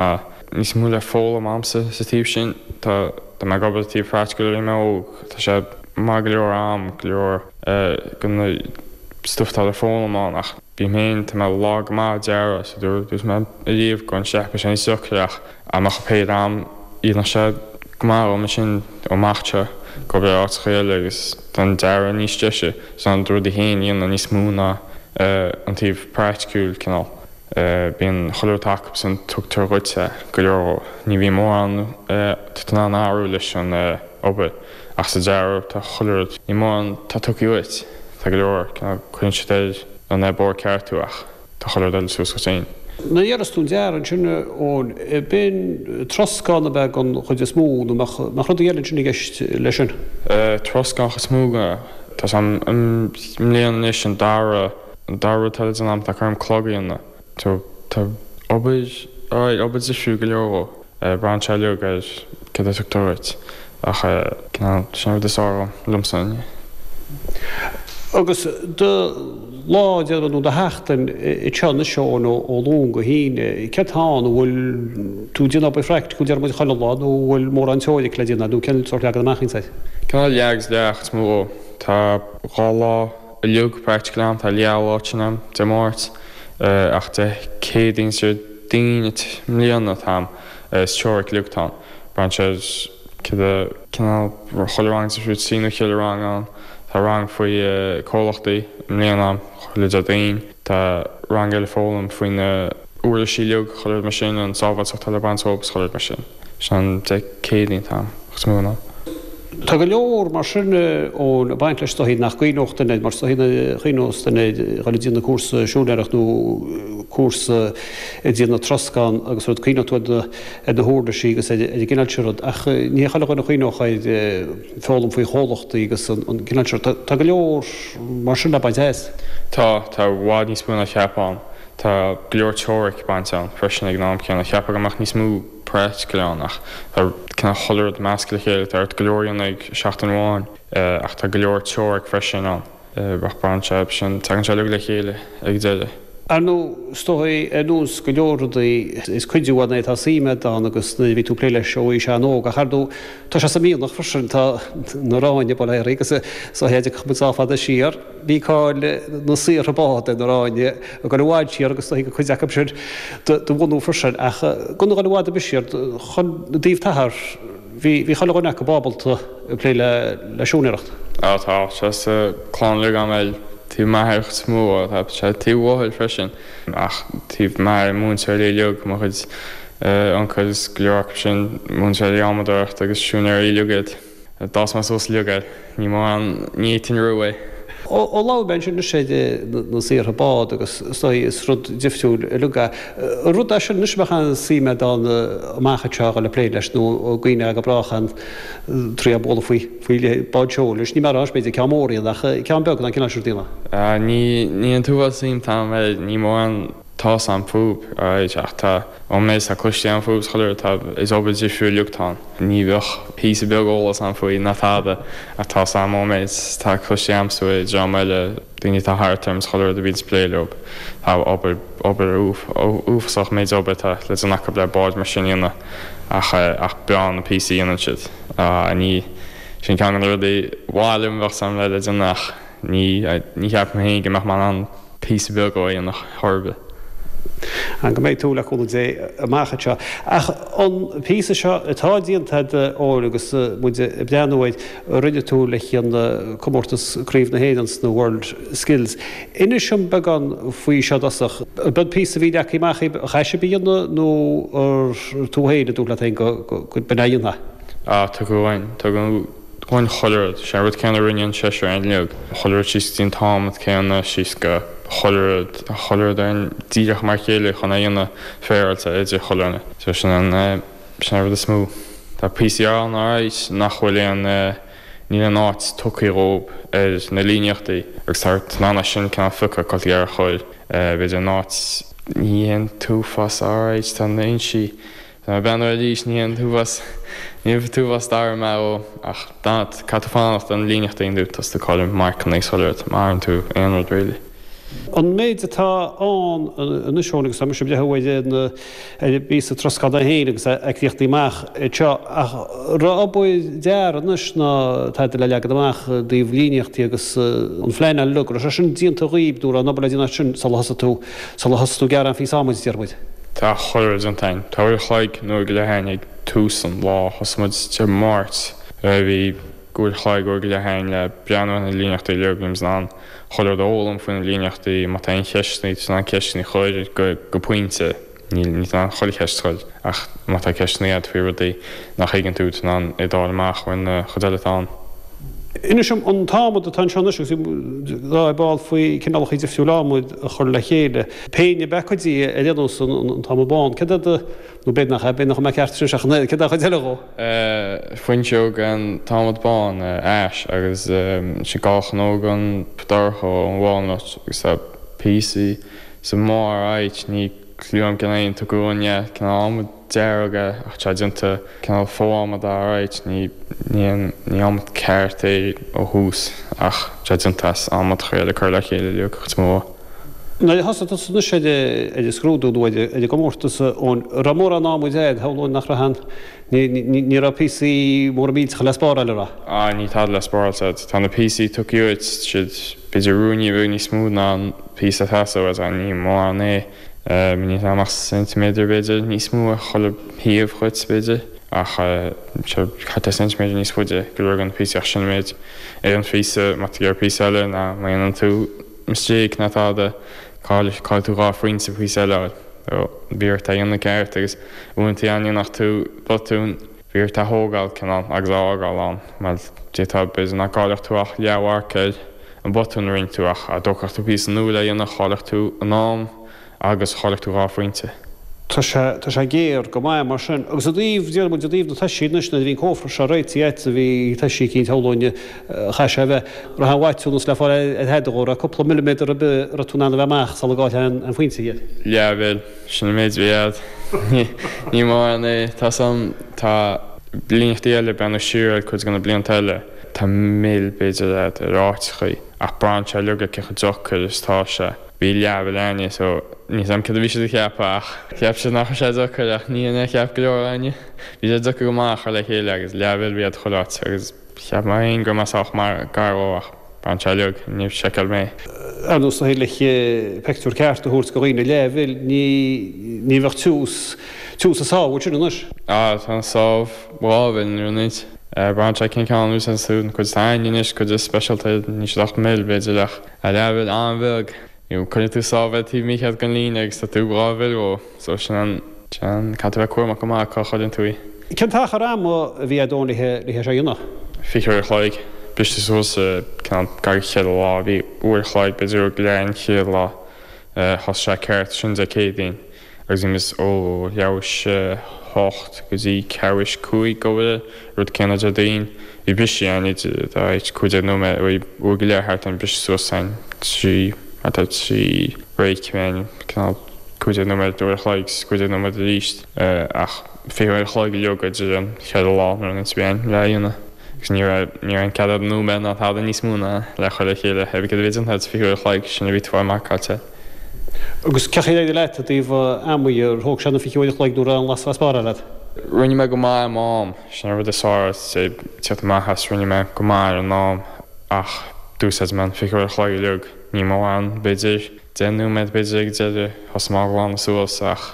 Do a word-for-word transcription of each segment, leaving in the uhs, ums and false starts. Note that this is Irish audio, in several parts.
Níos mó le foghlaim a'msa sa taobh sin tá tá mé ag obair taobh practical mé óg tá sé maith go leor am go leor go stuff tá le foghlaim ann ach bí mé tá mé lá go maith dearradh so dúirt mé riamh go an seach sin socreach amach pé am iad sé go maith ó sin ó se go be áit chéile agus don dearadh níos deise san rud héin dhéanamh níos mó ná an taobh praiticiúil cineál. Bíonn chuile tac san tugtar dhuitse go leor ní bhí mórán tá an athrú leis an obair ach sa dearadh tá chuile rud ní mórán tá tugtha uait tá go leor cuireann siad ar an bord ceart tú ach tá chuile rud eile suas go féin. Na dhearas tú dearadh sin ón b'in troscán a bheith an chuid is mó nó nach rudaí eile sin i gceist leis sin. Troscán is mó tá an mbliain anois an dara an dara rud eile den am tá chum clog a dhéanamh. Tá obair obair difriúil go leor braitheann sé uilig ar cad a tugtar duit ach sin rud is fearr liomsa. Agus do lá de nó do sheachtain i teanna seo nó ó Luan go hAoine, cé tá an bhfuil tú déanamh obair phraiticiúil deir muid chuile lá nó bhfuil mórán teoiric le déanamh nó cén sórt leagan amach ansin? Cineál leath agus leath is mó tá dhá lá uilig practical am tá leathlá sin am Dé Máirt ach de Céadaoin is Déardaoin mbliana táim is teoiric uilig tá braitheann sé cad cineál chuile rang sa trí nó chéile rang ann tá rang faoi comhlachtaí mbliana chuile Déardaoin tá rang eile foghlaim faoi na uirlisí uilig chuile mar sin an sábháilteacht le baint óbas chuile mar sin sin de Céadaoin táim is mó ná. Tá go leor mar sin ón baint leis dóigh nach gcuimhneodh duine mar is dóigh chuimhneodh duine dhul ag déanamh cúrsa siúinéireacht nó cúrsa ag déanamh troscán agus rud cuimhneodh tú ar na huirlisí agus ar an gcineál sin rud ach ní chuile dhuine a chuimhneodh ar foghlaim faoi chomhlachtaí agus an cineál sin rud. Tá go leor mar sin le baint as. Tá tá i bhfad níos mó ná cheapfá ann. Tá go leor teoiric baint ann freisin ag an am céanna. Cheapfá go mbeadh níos mó practical ann ach tá cineál chuile rud measctha le chéile tá ort go leor a dhéanamh ag seachtain amháin ach tá go leor teoiric freisin ann ach braitheann sé sin tagann sé uilig le chéile ag deireadh. Ar ndóigh, is dóigh ar nós go leor rudaí is cuidiú ann é tá suim agat ann agus nuair a bhí tú ag plé leis ó aois an-óg ach ar ndóigh tá sé sa mhianach freisin tá na Ráinne bail ó Dhia agus is dóigh dtiocfadh muid sách fada siar bhí cáil na saortha bád ar na Ráinne ag dul i bhfad siar agus is dóigh gur cuid acu sin do bhunú freisin ach gan a dhul i bhfad ar bith siar chun i dtaobh t'athar bhí bhí chuile dhuine acu ábalta plé le le siúinéireacht. Á tá sé sa chlann uilig agam bhuel taobh m'athar is mó tá sé taobh mháthair freisin ach taobh m'athar múinteoirí uilig mo chuid uncail is go leor acu sin múinteoirí adhmadóireachta agus siúinéirí uilig iad. D'fhás mé suas uilig air. Ní mórán ní fhéadfainn roimh é. Ó labhair mé ansin anois ar na saortha bád agus is dóigh is rud difriúil uilig é. An rud é sin anois a mbeadh an-suim agat ann amach anseo a dhul ag plé leis nó an gcuimhneofá go brách ann trí a bualadh faoi faoi bád seoil anois ní mar b'fhéidir ceann mór iad ach ceann beag ná cineál sin daoine. Ní ní an t-uafás suim atá agam air ní mórán tá 's agam fúb alright ach tá ón méid atá cloiste agam fúb is chuile rud tá is obair difriúil uilig atá ann. Ní bheadh píosa beag eolas agam faoi ná tada ach tá 's agam ón méid atá cloiste agamsa ó dream eile daoine atá thart orm is chuile rud a bhíonns ag plé leo. Tá obair obair uafásach méid obair atá le déanamh acu le báid mar sin a dhéanamh ach ach breá na píosaí a dhéanann siad. Ní sin ceann de na rudaí ba mhaith liom bheadh 's agam le le déanamh ach ní ní cheapaim féin go mbeadh mé in ann píosa beag dhó a dhéanamh chor ar bith. An go mbeidh tú le cúnamh Dé amach anseo. Ach an píosa seo atá déanta agat Eoin agus muid ag breathnú air, a rinne tú le haghaidh comórtas Craobh na hÉireann sna World Skills. Inis dom beagán faoi seo i dtosach. An b'in píosa a bhí leagtha amach a chaithfidh sibh a dhéanamh nó ar tú féin a dúirt leat féin go b'in é a dhéanfá? Ah, tugadh uainn, tugadh uainn chuile rud. Sé an rud céanna a rinne an seisear uilig. Chuile rud síos go dtí an t-adhmad céanna, síos go chuile rud, chuile rud ar an díreach mar a chéile chun é a dhéanamh féaráilte idir chuile dhuine. So sin an, sin an rud is mó. Tá píosaí ann alright nach bhfuil aon, níl aon áit tugtha dhóibh ar na líníochtaí agus tá ort in ann é sin cineál a phiocadh cad ar chóir, b'fhéidir an áit, ní haon t-uafás alright tá na fhoinsí. Tá mé ag breathnú arís, ní haon t-uafás, ní an t-uafás dara mé ó, ach caithfidh tú fanacht don líníocht a dhéanamh, tá tú ag cailleadh marcanna agus chuile rud, má athraíonn tú aon rud really. An méid atá ann anois agus tá mise breathnú ar an bpíosa troscán é féin agus é críochnaithe amach anseo ach raibh obair dearaidh anois ná tada le leagan amach i dtaobh líníochtaí agus an phleanáil uilig, raibh sé sin déanta dhaoib nó raibh an obair le déanamh sin sula thosaigh tú sula thosaigh tú ag gearradh an phíosa adhmaid deir muid. Tá chuile rud déanta againn. Tá uair a chloig nó uair go leith againn ag tús an lá. Thosaigh muid Dé Máirt. Bhí uair a chloig, uair go leith againn le breathnú ar na líníochtaí uilig, bhí muid in ann chuile rud a fhoghlaim faoi na líníochtaí, má tá aon cheisteanna, tá tú in ann ceisteanna a chur go go pointe, níl níl tú in ann chuile cheist a chur ach má tá ceisteanna agat faoi rudaí nach thuigeann tú, tá tú in ann iad a fháil amach ó na chuid eile atá ann. Inis dom an t-adhmad atá anseo anois agus bhí ag bail faoi cineálacha difriúla adhmaid a chur le chéile. Péine ab ea cuid de ar aon nós an t-adhmad bán. Céard é do Nó b'fhéidir nach ea, b'fhéidir nach mbeadh ceart sin ach an oiread. Céard é an chuid eile dhó? Fuinseog an t-adhmad bán, ash, agus sin gallchnóg an dorcha, an walnut, agus tá píosaí sa mbarr áit, ní clue agam cén aon tugadh uainn é, cineál adhmad dearg é ach tá déanta cineál fo-adhmad alright, ní ní ní adhmad ceart é ó thús ach tá déanta as adhmad chuile cur le chéile uilig, chuid mó. Nuair a thosaigh tusa anois ar an scrúdú nó ar an gcomórtas, an raibh mórán adhmaid agat, shamhlóinn nach raibh an, ní raibh píosaí móra millteacha le spáráil, an raibh? Ah, níl tada le spáráil agat. Tá na píosaí tugtha uait, siad b'fhéidir ruainne beag níos mó ná an píosa atá uait, ach ní mórán é. Níl ann ach ceintiméadar b'fhéidir níos mó ar chuile thaobh dhuit, b'fhéidir. Ach seo thart ar ceintiméadar níos faide go leor de na píosaí ach sin an méid ar an phíosa, má tá tú ag iarraidh píosa eile ná má dhéanann tú mistake ná tada, caillfidh tú dhá phointe píosa eile a fháil. Bhí ort é a dhéanamh ceart agus uaireanta dá ndéanfadh tú botún, bhí ort é a thógáil cineál agus a fhágáil ann mar d'fhéadfá b'fhéidir nach gcaillfeadh tú ach leathmharc ar an botún a rinne tú ach dá dtógfadh tú píosa nua le dhéanamh chaillfeadh tú an am agus chaillfeadh tú dhá phointe. Tá sé, tá sé géar go maith mar sin. Agus i dtaobh, déarfaidh muid, i dtaobh na toisí anois, nuair a bhí an cófra seo réitithe agat, bhí toisí eicínt shamhlóinn, chaith sé a bheith, raibh aon mhaithiúnas le fáil ar thada dhó, raibh cúpla milliméadar ar bith a raibh tú in ann a bheith amach sula gcaillfeá an pointe air. Leathmhil, sin an méid a bhí agat. Ní mórán é. Tá san, tá líníochtaí eile, breathnú siar ar cuid de na blianta eile, tá mil b'fhéidir agat ar áiteachaí ach braitheann sé uilig ar cé chomh deacair is atá sé. Bhí leathmhil againne so níl 's a'm céard a bhí siad a cheapadh ach cheap siad nach raibh sé deacair ach ní hin é a cheap go leor againne. Bhí sé deacair go maith a chur le chéile agus leathmhil a bhí a'd chuile áit agus cheap mé féin go raibh mé sách maith gar dhó ach braitheann sé uilig, níor sheiceáil mé. Ar nós le pictiúr ceart a thabhairt do dhaoine leathmhil ní ní bheadh tiús tiús an sábh ansin anois. Ah tá an sábh dhá mhil nuair a nit. Braitheann sé cén ceann a úsáideann tú, an cuid atá againne anois, cuid is speisialta, níl siad ach mil b'fhéidir ach leathmhil an-bheag. Nó cuireann tú sábh ar taobh mícheart den líne agus tá tú dhá mhil ó so sin an sin an caithfidh tú bheith cúramach go maith cá chuireann tú í. Cén t-achar ama a bhí a'd le le hé seo a dhéanamh? Fiche uair a chloig. Briste suas cineál gach chéad lá. Bhí uair a chloig b'fhéidir uair go leith an chéad lá. Thosaigh sé ceart sin Dé Céadaoin. Agus bhí muid ó leathuair théis a hocht go dtí ceathrú théis cúig ag obair, rud céanna Déardaoin. Bhí brisí ann idir dá áit cúig déag nóiméad, bhí uair go leith thart ann briseadh suas ann trí, thart ar trí break bhí cineál cúig déag nóiméad, uair a chloig agus cúig déag nóiméad arís ach fiche uair a chloig uilig idir an cheithre lá nuair a bhí ann le dhéanamh. Agus ní raibh, ní raibh aon cead a'd nóiméad ná tada níos mó ná le chur le chéile, cibé céard a bhí déanta a'd fiche uair a chloig, sin a bhí tú fáil marcáilte. Agus cén chaoi ar éirigh leat i dtaobh ama dhe, ar thóg sé na fiche uair a chloig nó raibh aon lasc le spáráil agat? Rinne mé go maith ar m'am, sin an rud is fearr ag teacht amach as, rinne mé go maith ar an am ach d'úsáid mé an fiche uair a chloig uilig, ní mórán, b'fhéidir deich nóiméad b'fhéidir ag deireadh, thosaigh mé á ghlanadh suas ach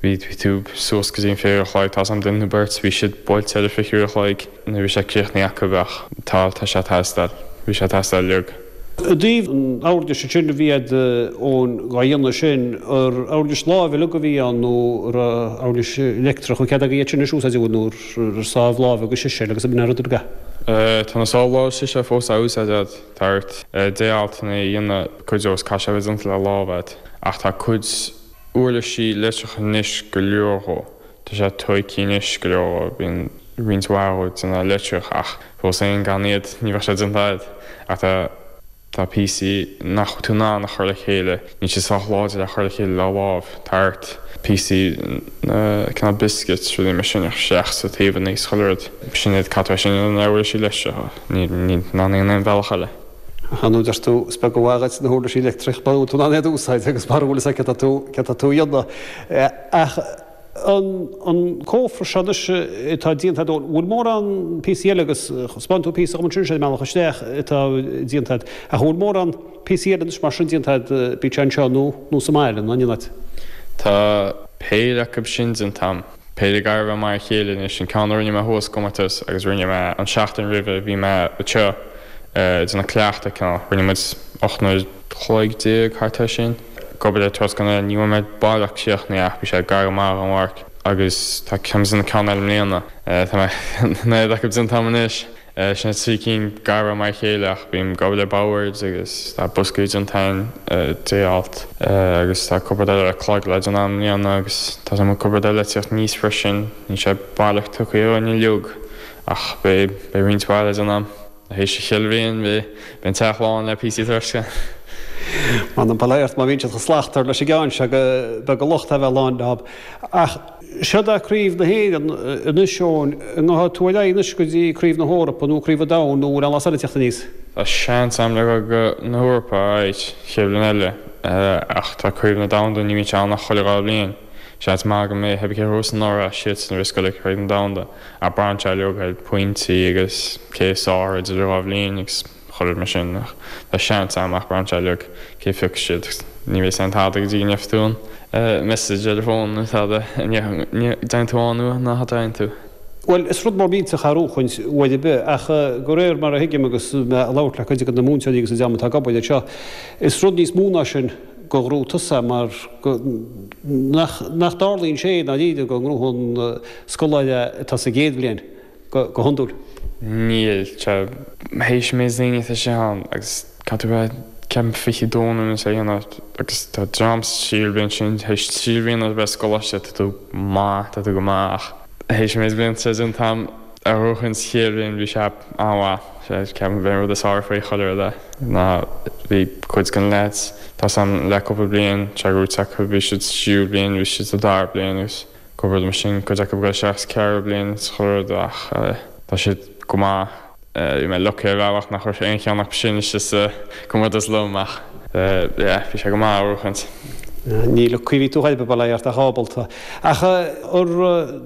bhí, bhí tú suas go dtí an fiche uair a chloig, tá's a'm duine nó beirt, bhí siad buailte ar an fiche uair a chloig nuair a bhí sé críochnaithe acu ach tá, tá sé ag teastáil, bhí sé ag teastáil uilig. I dtaobh an uirlis sin a bhí a'd ón dhá dhéanamh sin, ar uirlis láimhe uilig a bhí ann nó ar uirlis leictreach, an cead agaibh iad sin a úsáid nó ar sábh láimhe agus siséil agus an rud uilig? Tá na sábh láimhe siséil fós á úsáid a'd, tá ort déaltanna a dhéanamh cuid dó is caithfidh sé a bheith déanta le lámh a'd ach tá cuid uirlisí leictreacha anois go leor dhó, tá sé tóigthe anois go leor dhó, bíonn roinnt mhaith dhó déanta leictreach ach fós féin gan iad ní bheadh sé déanta a'd ach tá tá píosaí nach bhfuil tú in ann a chur le chéile, níl siad sách láidir le chur le chéile le lámh, tá ort píosaí na cineál biscuits rudaí mar sin a chur isteach sa taobhanna is chuile rud, sin iad caithfidh tú é sin a dhéanamh le uirlisí leictreacha, ní ní in ann aon bealach eile. Ar ndóigh deir tú, is beag an mhaith dhuit na huirlisí leictreach mura bhfuil tú in ann iad a úsáid agus mura bhfuil fhios agat céard atá tú céard atá tú a dhéanamh. Ach an an cófra seo anois atá déanta agat, an bhfuil mórán píosaí eile agus 'spáin tú píosa dhom ansin ar an mbealach isteach atá déanta agat ach an bhfuil mórán píosaí eile anois mar sin déanta agat, bíodh sé anseo nó nó sa mbaile nó in aon áit? Tá péire acu sin déanta a'm. Péire gar a bheith mar a chéile anois, an ceann a rinne mé thuas sa gcomórtas agus rinne mé an seachtain roimhe bhí mé anseo ag déanamh cleachtadh cineál, rinne muid ocht n-uair chloig déag thart air sin. Ag obair ar troscán eile, ní bhfuair mé baileach críochnaithe ach bhí sé gar go maith don mharc agus tá ceann déanamh ceann eile i mbliana. Tá mé an oiread acu déanta a'm anois. Sin trí cinn gar mar a chéile ach bím ag obair le boird agus tá boscaí déanta a'inn deighilt agus tá cúpla rud eile le clog le déanamh i mbliana agus tá some cúpla rud eile le tíocht aníos freisin. Níl sé baileach tugtha dhúinn uilig ach beidh beidh roinnt mhaith le déanamh. Théis an chuile bhliain beidh beidh an teach lán le píosaí troscáin. M'anam bail ort má bhíonn siad chomh slachtmhar leis an gceann seo go beag an locht é a bheith lán leob. Ach seod é Craobh na hÉireann anois Eoin, an ngabhfaidh tú ar aghaidh anois go dtí Craobh na hEorpa nó Craobh an Domhain nó bhfuil aon lá eile ag teacht aníos? Tá seans agam le dhul go na hEorpa arís chéad bhliain eile ach tá Craobh na Domhanda ní bhíonn sé ann ach chuile dhá bhliain. Seans maith go mbeidh cibé cé a ghnóthós anuraidh siadsan a bheas ag goil ag Craobh na Domhanda ach braitheann sé uilig ar pointí agus cé is fearr idir dhá bhliain agus chuile rud mar sin ach tá seans agam ach braitheann sé uilig cé phiocfaidh siad. Ní bheidh aon tada go dtí go ngeobhaidh tú an message ar an bhfón nó tada an dtéann tú ann nó nach dtéann tú. Bhuel, is rud mór millteach é a ghnóchaint uair ar bith ach de réir mar a thuigim agus mé ag labhairt le cuid de na múinteoirí agus an dream atá ag obair anseo, is rud níos mó ná sin go ngnóthóidh tusa mar go nach nach dtarlaíonn sé i ndáiríre go ngnóthaíonn scoláire atá sa gcéad bhliain. go hiondúil. Níl sé théis an méid daoine atá sé ann agus caithfidh tú bheith ceapaim fiche dó nó sé dhéanamh agus tá dream sa tríú bliain sin théis trí bliana a bheith sa gcoláiste tá tú maith tá tú go maith ach théis an méid blianta sé déanta a'm a ghnóchaint sa chéad bhliain bhí sé an-mhaith sé ceapaim b'é an rud is fearr faoi chuile rud é ná bhí cuid den leaids tá 's a'm le cúpla bliain sé gnóite acu bhí siad sa tríú bliain bhí siad sa dara bliain agus Cúpla rud mar sin, cuid acu ag dul isteach sa ceathrú bliain is chuile rud ach tá siad go maith. Bhí mé lucky ar bhealach nach raibh aon cheann acu sin istigh sa gcomórtas liom ach yeah bhí sé go maith a ghnóchaint. Ní lucky a bhí tú ar chor ar bith, bail ó Dhia ort ach ábalta. Ach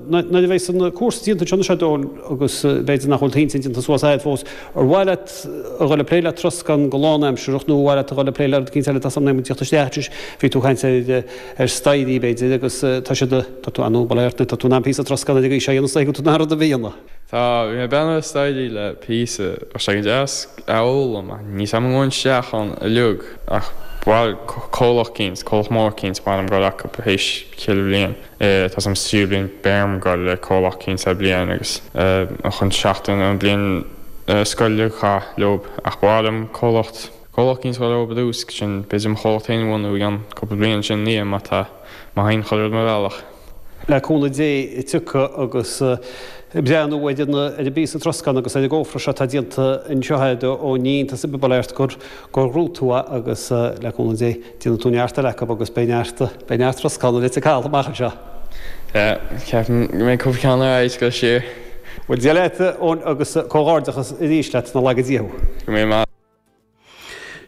nuair a bheas an cúrsa déanta anseo anois a Eoin agus b'fhéidir nach bhfuil t'intinn déanta suas agat fós, ar mhaith leat a dhul ag plé le troscán go lánaimsearach nó ar mhaith leat a dhul ag plé le rud eicínt eile tá san am ag tíocht isteach anois, bhí tú ag caint ar ar staighrí b'fhéidir agus tá siad tá tú ann bail ó Dhia ort tá tú in ann píosa troscán ar an gcaoi seo a dhéanamh is dóigh go bhfuil tú in ann rud ar bith a dhéanamh. Tá, bhí mé ag breathnú ar staighrí le píosa, bheadh sé go deas a fhoghlaim ach níl 's a'm an ngabhfainn isteach ann uilig ach bhuel comhlacht eicínt, comhlacht mór eicínt, ba mhaith liom dul acu théis chuile bhliain. Tá 's a'm sa tríú bliain beidh orm dul le comhlacht eicínt le bliain agus chun seachtain an bliain scoile a chaith leob ach ba mhaith liom comhlacht comhlacht eicínt a dhul leob i dtús sin b'fhéidir mo chomhlacht féin a bhunú i gceann cúpla bliain sin ina dhiaidh má tá má théann chuile rud mo bhealach. Le cúnamh Dé tiocfaidh agus breathnú ar an ar an bpíosa troscán agus ar an gcófra seo atá déanta anseo a'd ó ní iontas ar bith bail ó Dhia ort gur gur ghnóthaigh tú é agus le cúnamh Dé déanfaidh tú neart eile acu agus beidh neart beidh neart troscán i Leitir Caladh amach anseo. Yeah, ceapaim go mbeidh cúpla ceann ar aghaidh go siar. Bhuel Dia leat Eoin agus comhghairdeachas arís leat 's nach laga Dia thú. Go mbeidh maith.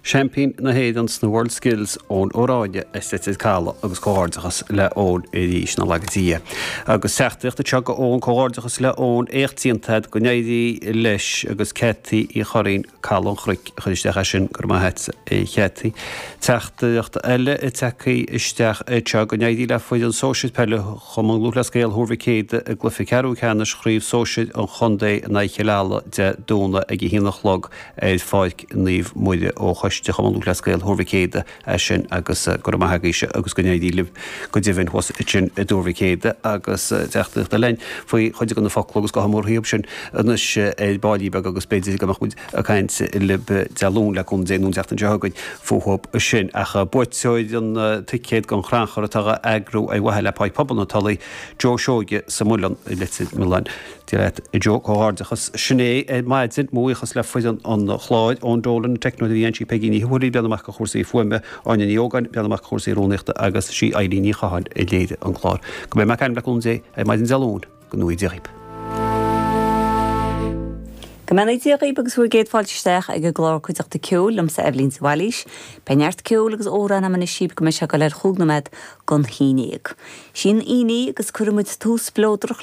Seaimpín na hÉireann sna World Skills Eoin Ó Ráinne as Leitir Caladh agus comhghairdeachas le Eoin arís nach laga Dia é. Agus teachtaireacht anseo go Eoin, comhghairdeachas le Eoin, éacht déanta agat, go n-éirí leis agus Ceaití Uí Churraoin, Caladh an Chnoic a chuir isteach é sin, go raibh maith a't a Cheaití. Teachtaireacht eile tagtha isteach anseo, go n-éirí le foireann sóisir peile Chumann Lúthchleas Gael Thuar Mhic Éadaigh i gcluiche ceathrú ceannais Chraobh Sóisir an Chontae in aghaidh Chill Ala Dé Domhnaigh ag a haon a chlog ar Pháirc Naomh Muire ó Choiste Chumann Lúthchleas Gael Thuar Mhic Éadaigh é sin agus go raibh maith agaibhse agus go n-éirí libh go deimhin thuas ansin i dTuar Mhic Éadaigh agus teachtaireacht eile faoi chuid de na focla agus gabhfaidh muid thríob sin anois ar baillín beag agus b'fhéidir go mbeadh muid ag caint libh Dé Luain le cúnamh Dé nó an tseachtain seo chugainn fúthub sin. Ach buaiteoir an ticéad don chrannchur atá á eagrú ar mhaithe le Páirc Pobail na Tulaí, Joe Seoige sa Muileann i Leitir Mealláin. Dia leat a Joe, comhghairdeachas. Sin é ar maidin, mo bhuíochas le foireann an chláir, Eoin Dolan, an teicneoir a bhí ann, Peigí Ní Thuathail ag breathnú amach do chúrsaí fuaime, Áine Ní Ógáin ag breathnú amach do chúrsaí rúnaíochta agus sí Eilín Ní Chatháin a léirigh an clár. Go mbeidh mé ag caint le cúnamh Dé ar maidin Dé Luain, go ngnóthaí Dia dhaoib. Go mbeannaí Dia dhaoibh agus bhur gcéad fáilte isteach ag an gclár Cuideachta Ceoil liomsa Eibhlín de Bhailís. Beidh neart ceoil agus amhrán agam anois daoibh go mbeidh sé ag dul ar chúig nóiméad don haon déag. Sin Aoine agus cuirfidh muid tús spleodrach